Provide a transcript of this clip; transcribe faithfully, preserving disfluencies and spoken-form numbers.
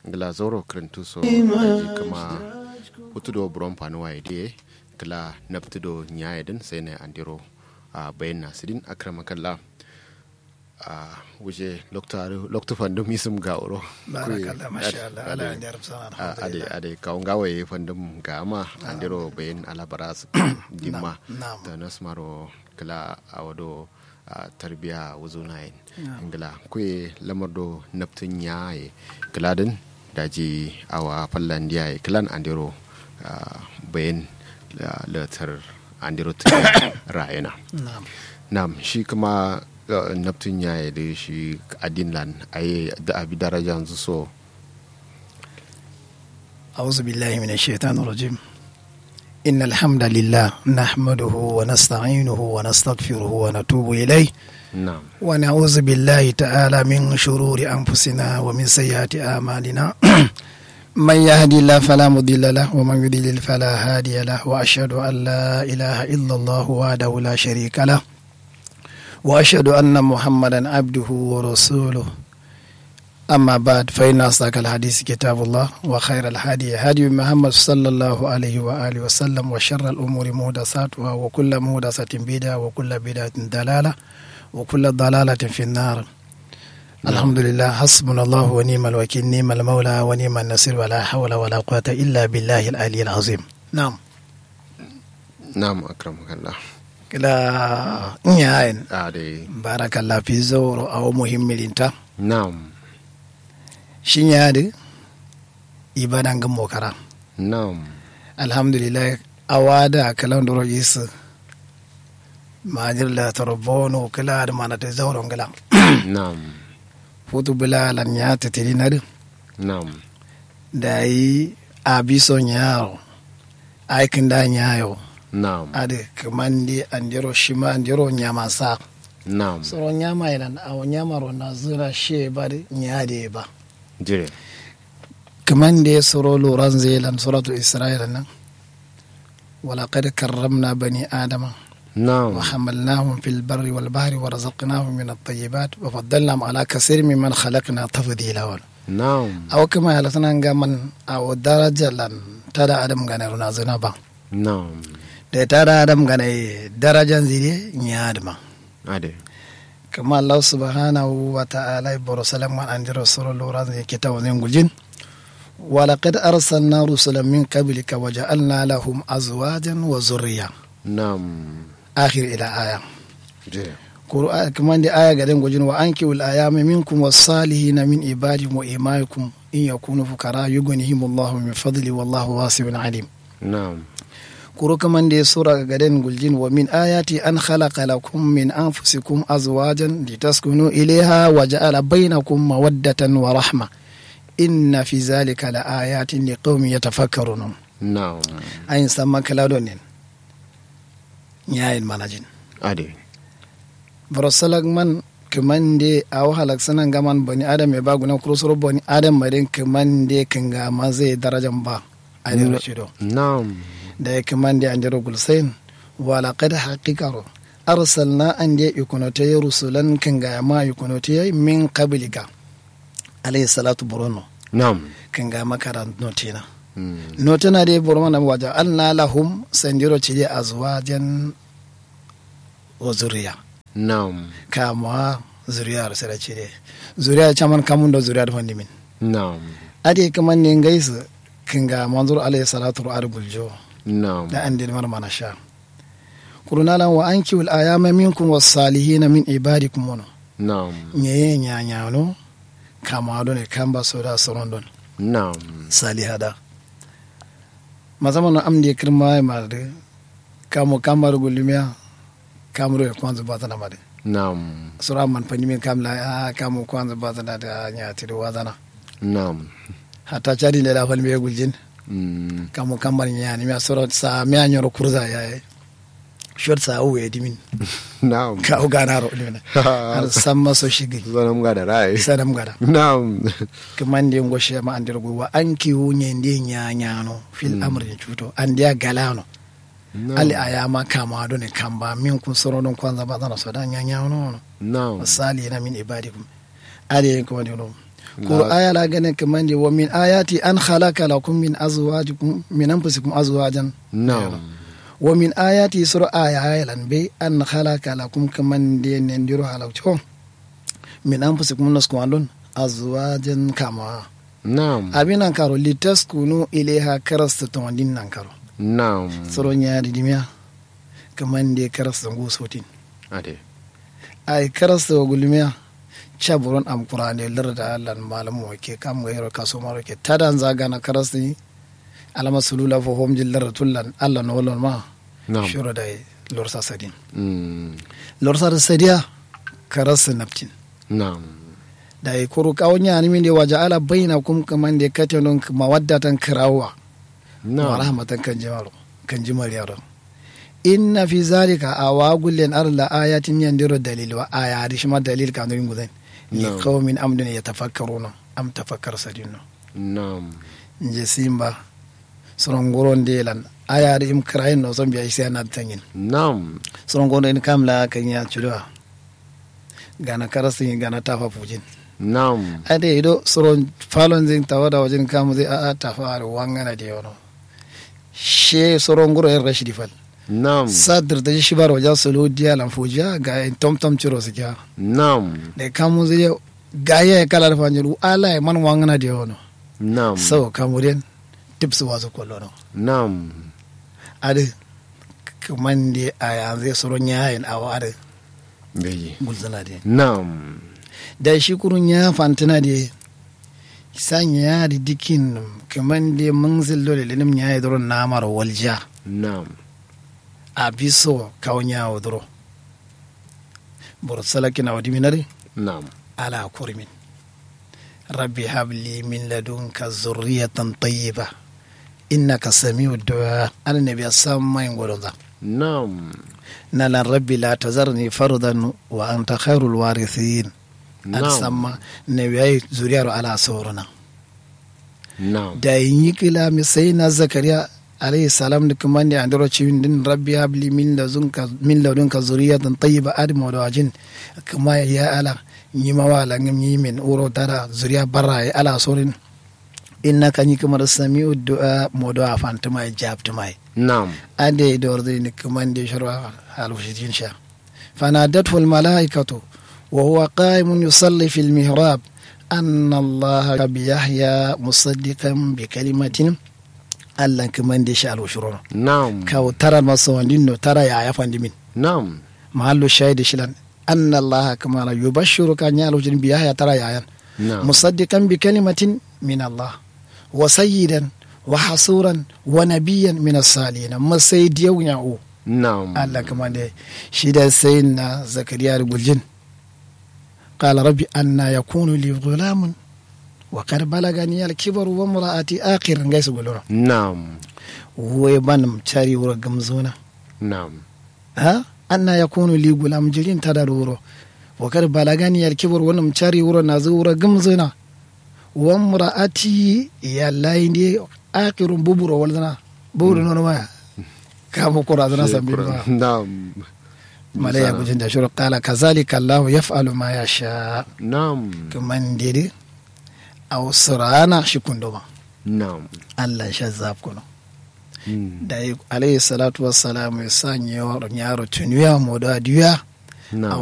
Ngla zauro kǝrǝntu so daji kǝma futu do buron fanuwa ye diye kǝla nabtǝ do nyaye dǝn sai nai andero bayin na sǝdin akrama kalla. Wuje loktu fandum isum gawuro. Barakallah, masha Allah, ala anjar sana. Ade ade kawo ngawo ye fandum gama andero bayin ala baras dimma. Tanas maro kǝla awodo tarbiya wuzunayin. Ngla kuye lamar do nabtǝ nyaye kǝla dǝn daji awa fallandiya ye kǝlan andero bayin latar andero tǝ rayena. Nam shi kǝma nabtǝ nyaye dǝ shi adin lan aye dǝ abi darajanzǝ so. Auzu billahi mina shaitan rajim. Inna alhamdulillah nahmaduhu wa nasta'inuhu wa nastaghfiruhu wa natubu ilai. Wa na'uzu billahi ta'ala min shururi anfusina wa min sayyati amalina. Man yahdillah fala mudilla lah wa man yudlil fala hadiya lah wa ashhadu an la ilaha illallah wahdahu la sharika lah wa ashhadu anna muhammadan abduhu wa rasuluh. Amma ba'd, fa inna asdaqal hadisi kitabullah wa khairal hadi hadi muhammad sallallahu alaihi wa alihi wa sallam wa sharral umuri muhdasatuha wa kullu muhdasatin bid'a wa kullu bid'atin dalala wa kullu dalalatin fin nar. Alhamdulillah, hasbunallahu wa ni'mal wakil, ni'mal maula wa ni'man nasir, wa la hawla wa la quwwata illa billahil aliyyil azim. Na'am. Na'am akramakallah. Kǝla nyayen. Barakallah fi zauro awo muhimmi linta. Na'am. Shi nyayadǝ ibada ngǝmmo kara. Na'am. Alhamdulillah. Awa dǝ akǝlan duro isǝ majir la toro bono kǝla adǝ manatǝ zauro ngǝla. Na'am. Futu bǝla lan nya tǝtǝri nadǝ. Na'am. Dayi abiso nyaro. Ai kǝnda nyayo. Na'am. Adǝ kǝmande andero shima andero nyamasa. Na'am. Soro nyama ye lan awo nyamaro nazǝna shiye ba dǝ nyade ye ba. Jire. Kǝmande soro loranze ye lan suratul isra'i lan nan. Walaqad karramna bani adama. Na'am. Wa hamalnahum fil barri wal bahri wa razaqnahum min at-tayyibat wa faddalnahum ala kasirin mimman khalaqna tafdila wal. Na'am. Awo kǝma ye lan sǝna ngaman awo daraja lan tada adam gana runa zǝna ba. Na'am. Dai tada adam gana ye darajan zide nya adǝ ma. Ade. Kǝma allahu subhanahu wa ta'ala boro salak man andiro soro loranze kitawo nze nguljin. Walaqad arsalna rusulan min qablika wa ja'alna lahum azwajan wa zurriya. Na'am. Akhir ila aya. Kuru kǝmande aya gaden gojin wa ankiwul ayama minkum wa salihina min ibadikum wa imaikum in yakunu fukara yugunihimullahu min fadli wallahu wasi'un alim. Na'am. Kuru kǝmande sura gaden guljin wa min ayati an khalaqa lakum min anfusikum azwajan litaskunu ilaiha wa ja'ala bainakum mawaddatan wa rahma. Inna fi zalika la ayatin liqaumin yatafakkarun. Na'am. Ayin samma kǝla donin. Nyayin manajin. Ade. Boro salak man kǝmande awo halaksǝna ngaman bani adam ye ba guna kuru suro bani adam ma din kǝmande kǝngamanza ye darajan ba. Adiro cido. Na'am. Dayi kǝmande andero gulsayin. Walaqad haqiqaro arsalna ande ikunote ye rusulan kǝngayama ikunote ye min qablika. Alayhi salatu borono. Na'am. Kǝngayama kada notena. Notena de boro mana wa ja'alna lahum sandiro cide azwajan wa zurriya. Na'am. Kamuwa zurriya ro sera cide. Zurriya caman kamun do zurriya do fandimin. Na'am. Ade kǝmande ngaisǝ kǝngamanzuro alayhi salatu ro adǝ guljo. Na'am. Da ande mara mana sha. Kuru nalan wa ankiwul ayama minkum wa salihina min ibadikum wono. Na'am. Nyeye nyanyano. Kama done kamba soda soron don. Na'am. Saliha da. Masamano amde kǝrma ye mare dǝ. Kamu kamba dǝ gullumiya. Kamu done kwanzǝ bazana mare. Na'am. Sura man fandimin kam la a kamu kwanzǝ bazana dǝ a nyati dǝ wazana. Na'am. Hatta cadi nde da falmiye guljin. Kamu kambar nyanimiya soro sa miya nyoro kurza yaye. Shot sa uwe dimin. Na'am. Ka uganaro dimina. Har samma so shigi. Sanam gada rai. Sanam gada. Na'am. Kǝmande ngo shema andiro gwi wa ankiwu nyende nyanyano fil amri cuto andiya galano. Na'am. Ali ayama kama done kamba minkum soro don kwanza bazana soda nyanyano. Na'am. Wasalihina min ibadikum. Ade kǝmande no. Kuru aya la ganin kǝmande wa min ayati an khalaqa lakum min azwajikum min anfusikum azwajan. Na'am. Wa min ayati suro aya aya lan be an khalaqa lakum kǝmande nendiro halakco min anfusikum nasku andun azwajan kama. Na'am. Abi nan karo litaskunu ilaiha karasta tawandin nan karo. Na'am. Suro nya di dimiya kǝmande karasta ngu sotin. Ade. Ai karasta wa gulmiya ca buron am kurande larda allan malam wake kam gairo kaso maro ke tadan za gana karasta ni. Alama sulula fo hom jin larda tullan allan wolon ma. Na'am. Shiro dai lorsa sadin. Mm. Lorsa da sadiya karasta naftin. Na'am. Dai kuru kawo nya ni min de waja ala bainakum kǝmande kate non mawaddatan kirawa. Na'am. Wa rahmatan kanjimaro kanjimaro yaro. Inna fi zalika awa gullen ar la ayatin yandiro dalil wa aya adi shima dalil kanu yin guzan. Na'am. Li qaumin amdun yatafakkaruna am tafakkar sadinno. Na'am. Nje simba suron guron de lan aya adi im kirayin no son biya isi ana tangin. Na'am. Suron guron de kam la kan ya cudowa. Gana karasi gana tafa fujin. Na'am. Ade ido suron falon zin tawada wajin kamu zai a'a tafa adi wangana de yono. She soron guro yen rashidi fal. Na'am. Sadir da shi baro ja solo diya lan fujiya ga yen tomtom ciro sikiya. Na'am. Da kamu zai ga ya kala da fanjin ala ya man wangana da yono. Na'am. Sau kamu den tipsu wasu kolono. Na'am. Adi kaman da a yanzu ya soron yayin awa adi. Beji. Gulzana de. Na'am. Da shi kurun ya fantina de. Sa nya di dikin kǝmande mǝngzǝl do lelenim nya ye duro namaro waljiya. Na'am. Abiso kawo nya wo duro. Boro salakin awo dimin adǝ. Na'am. Ala kurimin. Rabbi habli min ladunka zurriyatan tayyiba innaka sami'u du'a. Annabiya samma yin godonza. Na'am. Nalan rabbi la tazarni fardan wa anta khairul warithin. Adǝ samma nawiya ye zuriyaro ala sorona. Dayi nyi kǝla mi sai na zakariya alayhi salam dǝ kǝmande andero ciwin dǝn rabbi habli min ladunka zuriyatan tayyiba adǝ modo wajin. Kǝma ya ala nyima wa langǝm nyi min wuro tada zuriya barra ye ala sorin. Innaka nyi kǝma dǝ sami'u du'a modo wa fantǝma ye jabtǝma ye. Adǝ ye doro dǝ ni kǝmande shiro alwushijin sha. Fanadathul mala'ikatu wa huwa qa'imun yusalli fil mihrab anna allaha bi yahya musaddiqan bi kalimatin. Allan kǝmande shi alwushiro no. Kawu tara maso wandin no tara yaya fandimin. Mahallu shahidi shilan anna allaha kǝmala yubashshiruka nya alwushirin bi yahya tara yayan. Musaddiqan bi kalimatin min allah wa sayyidan wa hasuran wa nabiyyan min assalihina masai diyau nya u. Allan kǝmande shi da sayinna zakariya dǝ guljin. Qala rabbi anna yakunu li gulamun wa kad balagani alkibaru wa mra'ati aqir ngai su gullono. Wai banǝm cari wuro gǝmzuna. Anna yakunu li gulam jirin tada dǝ wuro. Wa kad balagani alkibaru wanǝm cari wuro nazǝ wuro gǝmzuna. Wa mra'ati yallayi nde aqirun buburo walzǝna. Buburo nono maya. Kamu kurazǝna sambin ba. Malaiya gujin da shiro qala kazalika allahu yaf'alu ma yasha. Kǝmande dǝ awo sǝrana shi kundo ma. Allan sha zafkono. Dayi alayhi salatu wassalamu ye sa nyiro nyaro tuniya modo adiya.